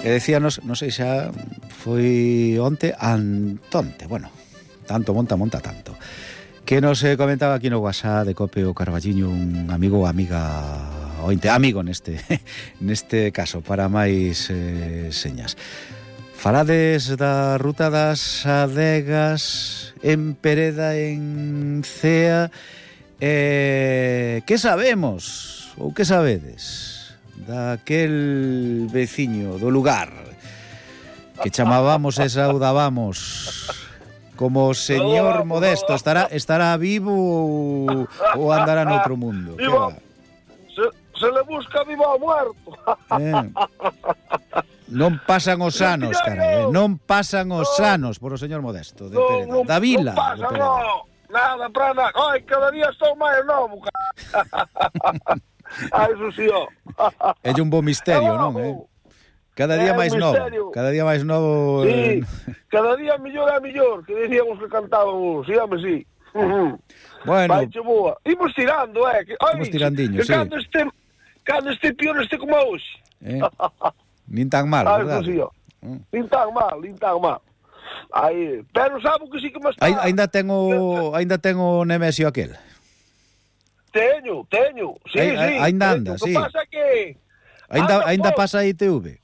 E decíanos, non sei xa foi onte, antonte, bueno, tanto monta tanto, que nos comentaba aquí no WhatsApp de Cope o Carballiño un amigo ou amiga ointe, amigo neste caso, para máis señas. Falades da ruta das adegas en Pereda, en Cea. Que sabemos, ou que sabedes daquel veciño do lugar que chamábamos e saudábamos como señor Modesto? Estará vivo ou andará noutro mundo? Vivo, se le busca vivo ou muerto. Non pasan os anos, carai, non pasan os anos por o señor Modesto de Pereda, da vila. Non pasa, nada, para nada. Ai, cada día estou máis novo, Ai, eso sí, É un bo misterio, non, Cada día máis novo. Cada día máis novo. Sí, cada día mellor é mellor, que decíamos que cantábamos, síame, sí. Bueno. Vai, che boa. Imos tirando, que imos tirandiño, sí. Cando este pior como hoxe. Nin tan mal, verdade? Sí, nin tan mal. Aí, pero sabe que sí que me está... Ainda tengo Nemesio aquel. Teño, sí. Ainda anda, sí. O que pasa é que... Ainda pasa a ITV.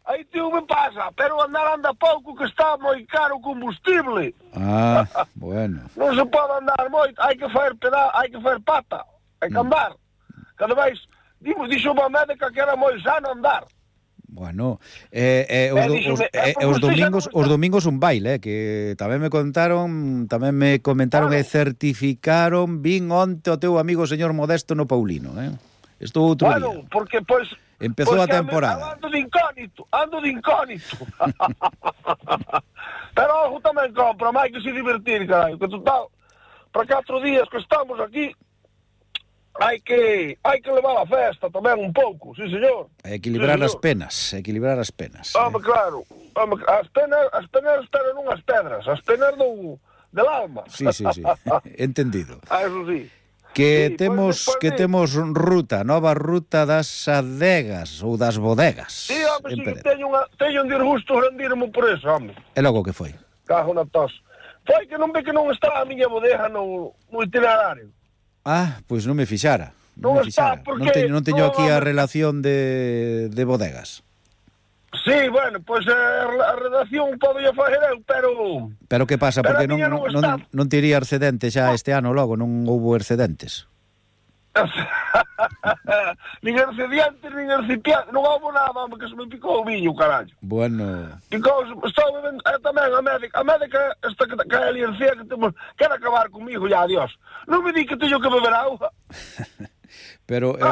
A ITV pasa, pero anda pouco, que está moi caro o combustible. Bueno. Non se pode andar moito, hai que fazer pata, hai que andar. Cada vez, dixo unha médica que era moi sano andar. Bueno, os domingos un baile, que tamén me comentaron e certificaron, vin onte o teu amigo señor Modesto no Paulino, Estou outro día. Bueno, porque empezou a temporada. Ando de incógnito. Pero ojo tamén compra, máis que se divertir, carai, que total, para 4 días que estamos aquí, hai que levar a festa tamén un pouco, sí, señor. Equilibrar as penas. Home, claro. As penas pero non as pedras, as penas del alma. Sí. Entendido. Eso sí. Que temos nova ruta das adegas ou das bodegas. Sí, home, sí, teño un disgusto grandísimo por eso, home. E logo que foi? Cajo na tos. Foi que non ve que non está a miña bodega no itinerario. Pois non me fixara. Está, porque... Non teño aquí a relación de bodegas. Sí, bueno, pois a redacción pode facer eu, pero... Pero que pasa? Porque non tiría excedente xa este ano logo, non houbo excedentes. Nin excedentes, nin recipientes, non houbo nada, que se me picou o viño, carallo. Bueno... Picou, estou bebendo, tamén a médica esta que é ali en Cía, que quer acabar comigo, ya, adiós. Non me di que teño que beber auga. Pero un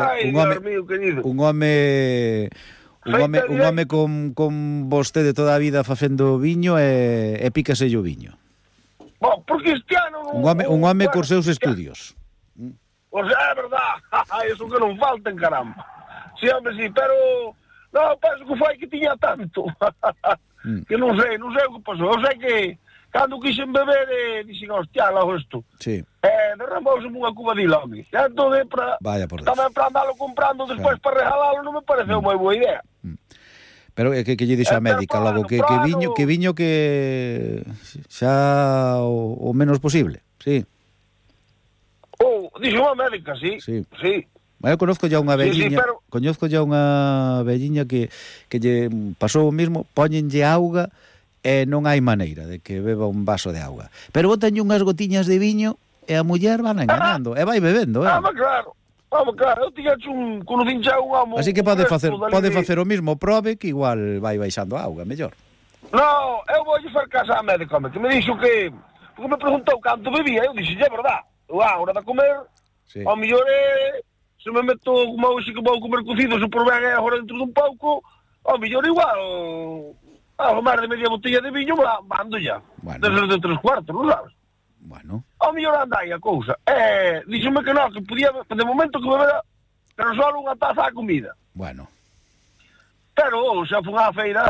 home con vostede toda a vida facendo viño e pícase o viño. Bom, porque este ano... Un home cos seus estudios. O sea, é verdad. Eso que non falten, caramba. Sí, home, sí, pero... Non, penso que foi que tiña tanto. Que non sei o que pasou. Eu sei que cando quixen beber, dixen, hostia, logo isto. Sí. Derramouse unha cubadila, home. Entón, vaya por Deus. Tamén para andalo comprando despois para regalalo non me pareceu moi boa idea. Pero que lle dixo a médica logo? Que viño que xa o menos posible, sí. Dixo unha médica, sí. Eu conozco ya unha velliña, que lle pasou o mismo, póñenlle auga e non hai maneira de que beba un vaso de auga. Pero botanlle unhas gotiñas de viño e a muller van enganando, e vai bebendo, Claro, eu tiña un conocido un amo... Así que pode facer o mismo, prove que igual vai baixando a auga, mellor. Non, eu vou facer casa a médico, que me dixo que... Porque me preguntou canto bebía, eu dixo, é verdad, a hora de comer, ao mellor se me meto como hoxe que vou comer cocido, se por ben é agora dentro dun pouco, ao mellor igual... Algo máis de media botella de viño mando ya. Desde de 3/4, non sabes? Bueno. Ao mellor anda aí a cousa. Díxome que non, que podía, de momento que bebera, pero só unha taza a comida. Bueno. Pero xa fun á feira